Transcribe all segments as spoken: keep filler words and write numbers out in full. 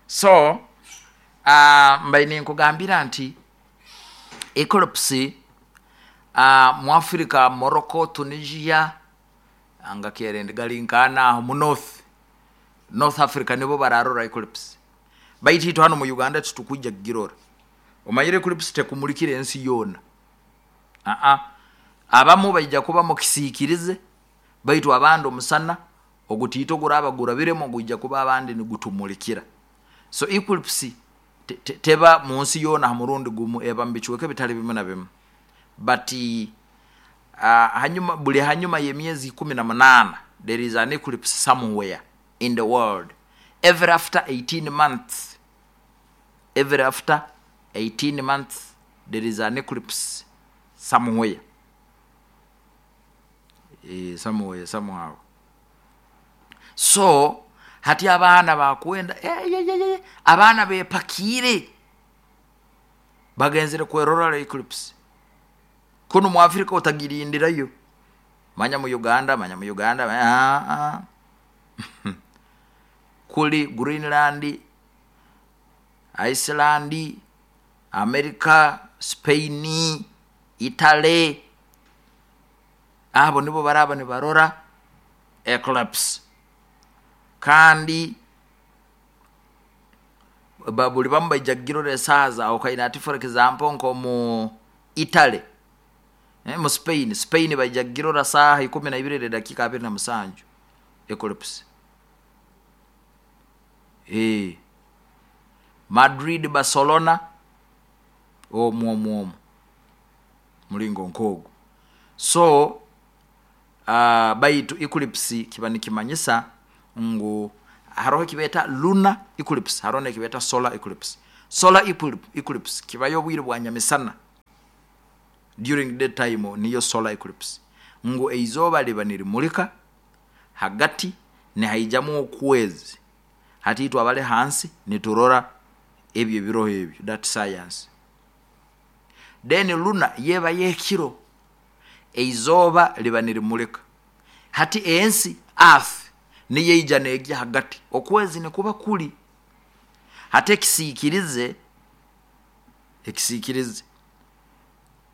So uh, mbaire ninkugambira nti eclipse uh, mu Africa, Morocco, Tunisia, nga kerende gali nkana aho mu north north Africa, nibo bararora eclipse. Baitu itwe hano mu Uganda titukwija kugirora. Omanyire eclipse tekumulikira ensi yoona. Aa, abamu baija kuba mukisiikirize, baitu abandi omusana ogutiito guraba gurabiremu gwija kuba abandi nigutumulikira. So eclipse te, te, teba mu nsi yoona ha murundi gumu, eba mu bicweka ebitali bimu na bimu. But uh, hanyuma, buli hanyuma y'emyezi ikumi na munaana there is an eclipse somewhere in the world. Every after eighteen months, every after eighteen months there is an eclipse somewhere, e, somewhere, somehow. So hati abaana bakwenda, eh, ye, ye, ye, abaana bepakiire bagenzere kwerora eclipse. Kunu mu Africa otagirindirayo, manya mu Uganda, manya mu Uganda, ah, ah. Kuli Greenland, Iceland, America, Spain, Italy, abo nibo baraba nibarora eclipse. Kandi buli bamu baija kugirora esaaha zahukaine. Ati for example nkomu Italy, eh, mu Spain, Spain baija kugirora saaha ikumi na ibiri nedakiika abiri na musanju eclipse. Eh, Madrid, Barcelona, omwo omwo omwo mulingo nkoogu. So uh, baitu eclipse kiba nikimanyisa ngu haroho ekibeeta lunar eclipse, haroho nekibeeta solar eclipse. Solar eclipse kibayo obwire bwa nyamisana, during the time niyo solar eclipse, ngu eizooba liba nirimulika hagati nihaijamu okwezi. Hati itwe abali hansi niturora ebyo ebiroho ebyo, that science. Then lunar yeba yekiro, eizooba liba nirimulika, hati ensi, earth, niyo eija neegya hagati, okwezi nikuba kuli hati ekisiikirize, ekisiikirize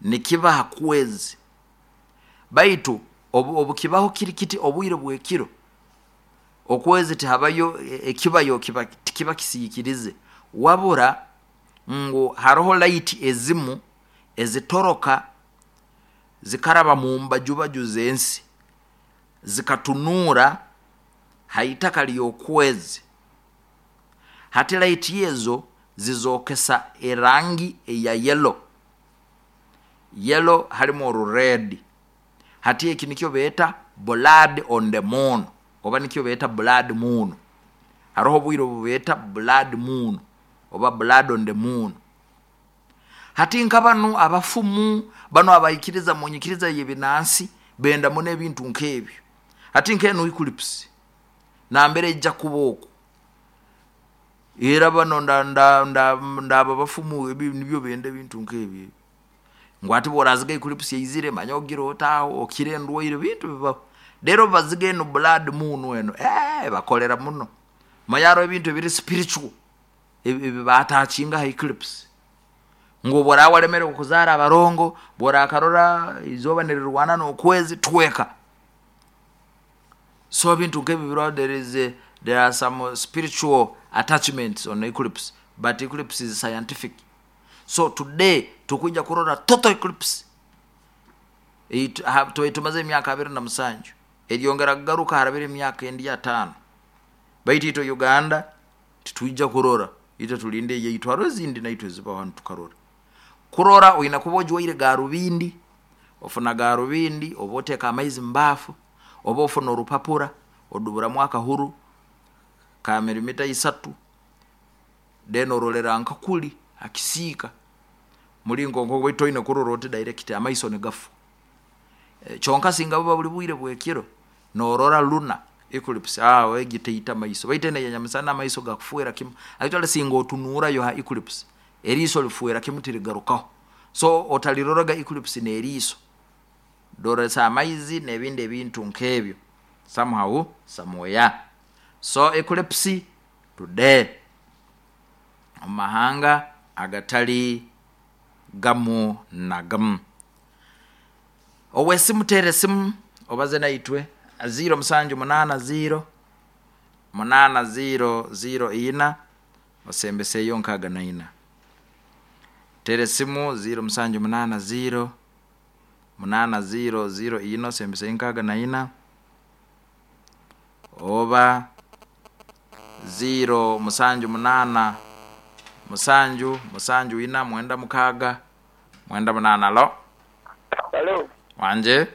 nikiba ha kwezi. Baitu obu, obukibaho kiri kiti obwire bwekiro, okwezi tihabayo ekibayo, kiba tikiba kisiikirize, wabura ngu haroho light ezimu ezitoroka zikaraba mu mbajubaju z'ensi zikatunuura haitaka ly'okwezi. Hati light ezo zizokesa erangi eya yellow, yellow halimu orured. Hati eki nikyo beeta blood on the moon, oba nikyo beeta blood moon. Haroho obwire obu beeta blood moon oba blood on the moon. Hati nka banu abafumu banu abaikiriza mu nyikiriza y'ebinansi benda muno ebintu nk'ebyo. Hati nk'enu eclipse nambere ejja kuba oku, era bano ndaba bafumu ebi nibyo benda ebintu nk'ebyo, ngu ati bworaziga eclipse yaizire, manya ogira otaaho okira endwaire, bintu bibaho. Rero baziga enu blood moon eno, eh, bakolera muno. Manya hariho ebintu ebiri spiritual ebi batakinga ha eclipse, ngu obworaba walemere okuzaara abarongo, bworakarora izooba nirirwana n'okwezi, tweka. So ebintu nk'ebi biriho. there is a, there are some spiritual attachments on eclipse, but eclipse is scientific. So today tukwija kurora total eclipse. Tumaze emyaka abiri na musanju, eryongera kugaruka harabire emyaka endi ataano. Baitu itwe Uganda titwija kurora, itwe tulinde eyaitu. Hariho ezindi naitwe ezibaho hanu tukarora. Kurora oina kuba ojwaire garubindi, ofuna garubindi, oba oteeka amaizi mubaafu, oba ofuna orupapura oduburamu akahuru ka milimita isatu, then orolera nka kuli hakisiika mulingo nko, baitu toine kurora oti direct, amaiso nigafa. E, kyonka singa buba buli bwire bwekiro norora lunar eclipse, aho egi teita maiso, baitu eno eyanyamisana amaiso gakufuera kimu. Actually singa otunuurayo ha eclipse, eriiso lifuera kimu, tirigarukaho. So otaliroraga eclipse n'eriiso, doresa amaizi n'ebindi ebintu nk'ebyo, somehow, somewhere. So eclipse today. Omu mahanga agatali gamu na gamu. Owesimu, teera esimu obaze naitwe, ziro musanju munaana ziro munaana ziro ziro ina osembeseyo nkaaga na ina. Teera esimu ziro musanju munaana ziro munaana ziro ziro ina osembeseyo nkaaga na ina, oba ziro musanju munaana musanju musanju ina mwenda mukaaga mwenda munaana. Alo. Alo. Wanje.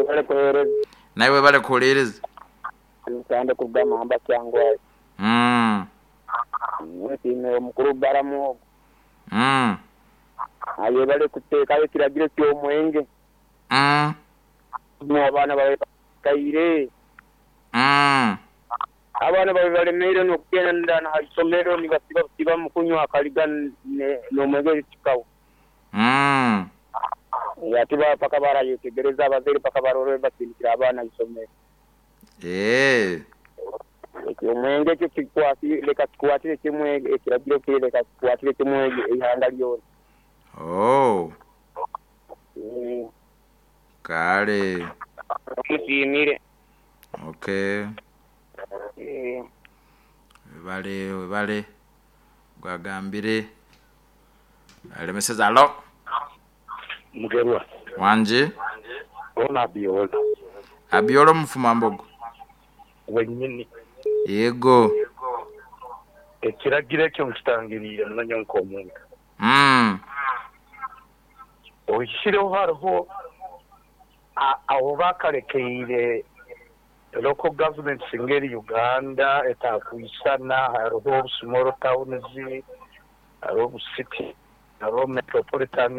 Bale kuheereza. Naiwe bale kuhuliiriza. Nsande kuruga Mamba Kyangwayo. mm. Nsiime omukuru Baramu ogu. Mm. Aye bale kuteekayo ekiragiro ky'omwenge. Mm. Mu abaana babe bakaire. Mm. Abaana babe balemeire n'okugenda na ha isomero nibasiba busiba mu kunywa akaliga ne- n'omwenge kikawa. Mm. Ati ba paka barayetegereza abazaire paka barore basindikira abaana isomero. Eh. Ekyo omwenge ekyo kikwati leka kikwatire kimwe, ekiragiro kiri leka kikwatire kimwe eihanga lyona. Oh. Mm. Kale. Musiimire. Okay. Eh. Webale, webale gwagambire alemeseza. Alo. Mugerwa. Wanje. Ona Abiola. Abiola omufumambogo. Wenyini. Yego. Ekiragiro ekyo nkitangiriire munanya nk'omuntu. Mm. Ohikireho hariho a- aho bakarekeire local governments ngeri Uganda etakwisana, hariho small towns, hariho city, hariho metropolitan.